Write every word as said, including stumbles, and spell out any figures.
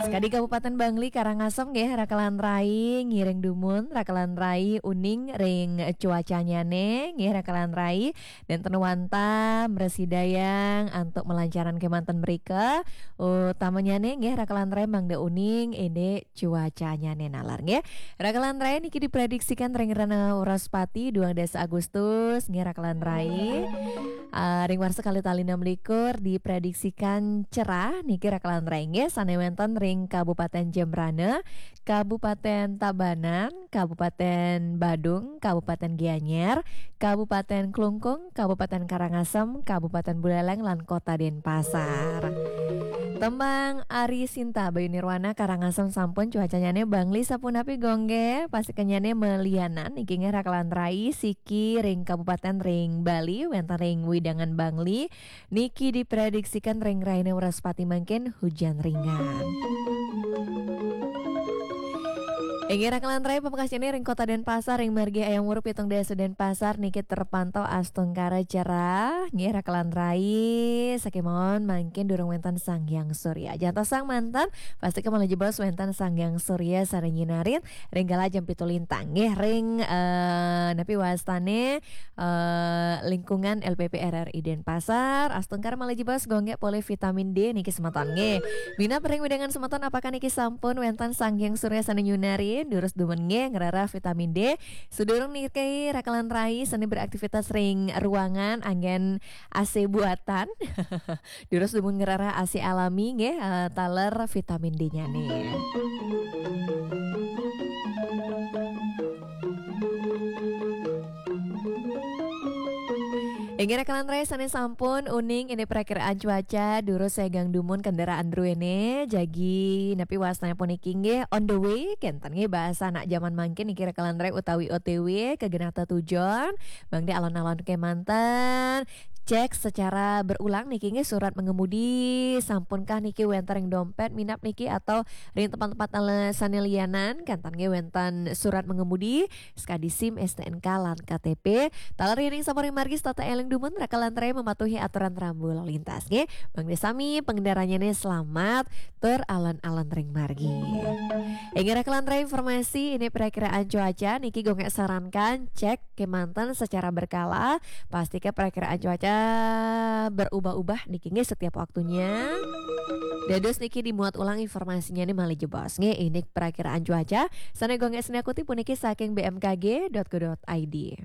Sakadi Kabupaten Bangli, Karangasem nggih, rakelan rai, ngiring dumun rakelan rai uning ring cuacanyane nggih, rakelan rai. Wenten wantah mrasidayang antuk malancaran kemanten mrika. Utamanyane nggih, rakelan rai, mangda uning indik cuacanyane nalar nggih. Rakelan rai, niki diprediksikan ring rena Wraspati, duang dasa Agustus nggih, rakelan rai. Ah, ring warsa kalih tali enam likur diprediksikan cerah niki, rakelan rai nggih, sane wenten ring Kabupaten Jembrana, Kabupaten Tabanan, Kabupaten Badung, Kabupaten Gianyar, Kabupaten Klungkung, Kabupaten Karangasem, Kabupaten Buleleng, lan Kota Denpasar. Tembang Ari Sinta, Bayu Nirwana, Karangasem sampun, cuacanyane Bangli sapunapi gongge, pasikenyane malianan niki nggih, rakelan rai, siki ring kabupaten ring Bali, wenten ring wewidangan Bangli, niki diprediksikan ring raine Wraspati mangkin hujan ringan. Inggih, rakelan rai, pamekasnyane ring Kota Denpasar, ring margi Hayam Wuruk pitung dasa Denpasar niki terpantau astungkara cerah nggih, rakelan rai. Sakemawon mangkin durung wenten Sang Hyang Surya. Jantosang manten, pastika malih jebos wenten Sang Hyang Surya sane nyinarin ring galah jam pitu lintang nggih, ring, eh, napi wastane, eh, lingkungan L P P R R I Denpasar, astungkara malih jebos gongge polih vitamin D niki semeton nggih. Minab ring wewidangan semeton, apakah niki sampun wenten Sang Hyang Surya sane nyunarin? Durus dumun nggih ngrereh vitamin D. Sadurung niki, rakelan rai sane beraktivitas ring ruangan anggen A C buatan. Durus dumun ngrereh A C alami nggih, eh, taler vitamin D-nyane. Inggih, rakelan rai, sane sampun uning indik prakiraan cuaca, durus segang dumun kendaraan druene, jagi napi wastane puniki nggih, on the way, kenten nggih bahasa anak jaman mangkin niki, rakelan rai, utawi O T W, ka genah tetujon, mangda alon-alon kemanten, cek secara berulang niki nggih, surat mengemudi, sampunkah niki wenten ring dompet, minab niki atau ring tempat-tempat ale-, sane lianan, kenten nggih wenten surat mengemudi, sakadi SIM, STNK, lan KTP. Taler yening sampun ring margi, setata eling dumun, rakelan rai, mematuhi aturan rambu lalu lintas nggih. Mangda sami pangendaranyane selamat tur alon-alon ring margi. Inggih, rakelan rai, informasi indik prakiraan cuaca niki gongge sarankan cek kemanten secara berkala, pastika prakiraan cuaca berubah-ubah niki nggih setiap waktunya. Dados niki dimuat ulang informasinyane malih jebos nggih, indik prakiraan cuaca sane gongge sinakutip puniki saking B M K G dot go dot I D.